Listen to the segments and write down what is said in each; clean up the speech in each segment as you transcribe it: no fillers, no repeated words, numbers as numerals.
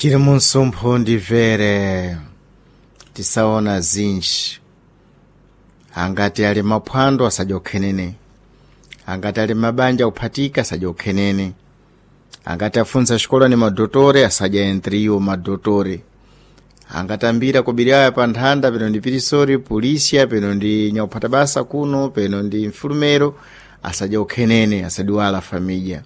Chili munsumpho ndimvere tisaona zinji. Angati ali maphwando asadya ukhenene, angati ali mabanja kuphatika asadya ukhenene, angati afunsa xikola ni madotore asadya entriwo madotore, angatambira kubiraya pa nthanda peno ndi pirisori polisia peno ndi nyakuphata basa kuno peno ndi mfulumero asadya ukhenene, asadiwala familya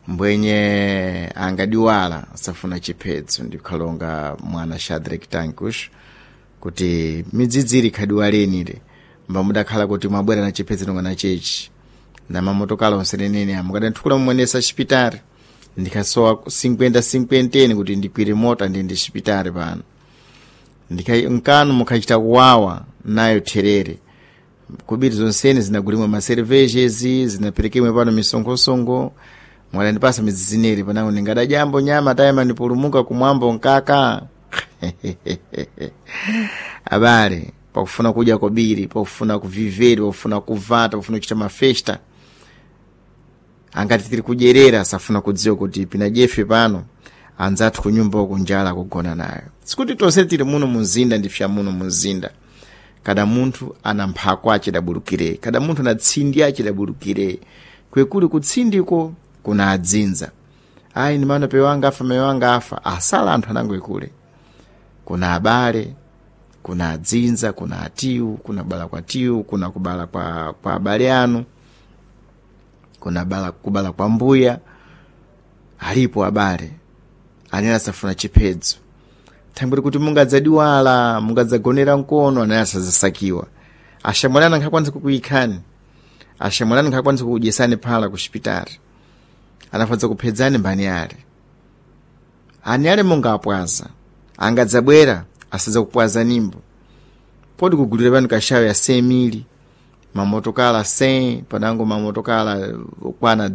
mbwenye angadiwala asafuna chiphedzo. Ndikhalonga mwana Shadrack Tankush kuti midzidziri khadiwalenire mbamudakhala kuti mwabwera na chiphedzo nonga na chechi na mamotokala onsenenene amukadanthukula mumwenesa xipitari ndikhasowa 50-50 kuti ndikwire mota ndi ndi xipitari pano nkanu mukhachita kuwawa nayo therere kubiri zonsene zinagulimwa maservejezi zinaperekemwe pano misonkhosongo mwadandipasa midzizineri panango ndingadajambo nyama tayima ndipulumuka kumwambo nkaka. Abale, pakufuna kudya kobiri, pakufuna kuviveri, pakufuna kuvata, pakufuna kuchita mafesta, angati tiri kudyerera safuna kudziwa kuti pinajefe pano anzathu kunyumba uku njala kugona nayo. Sikuti tonse tili muno munzinda ndifya muno munzinda. Kada munthu ana mphako achidabulukire, kada munthu ana tsindi achidabulukire, kwekuli kutsindiko kuna adzinza. Ayi, ndi mano pewa anga afa, mayo anga afa, asala anthu anangoikule. Kuna abale, kuna adzinza, kuna atiwu, kuna bala kwa tiwu, kuna kubala kwa abale anu, kuna bala, kubala kwa mbuya. Alipo abale anene asafuna chiphedzo thangwiri kuti mungadzadiwala, mungadzagonera mkono, anene asazasakiwa. Ashamwalana nkhakwanisa kukuyikhani, ashamwalani nkhakwanisa kukudyesani phala ku xipitari, anafadza kuphedzani mbani ale ani ale mungapwaza angadzabwera asadza kupwaza nimbo podi kugulira pano kashawo ya 100 mili mamotokala 100 panango mamotokala okwana.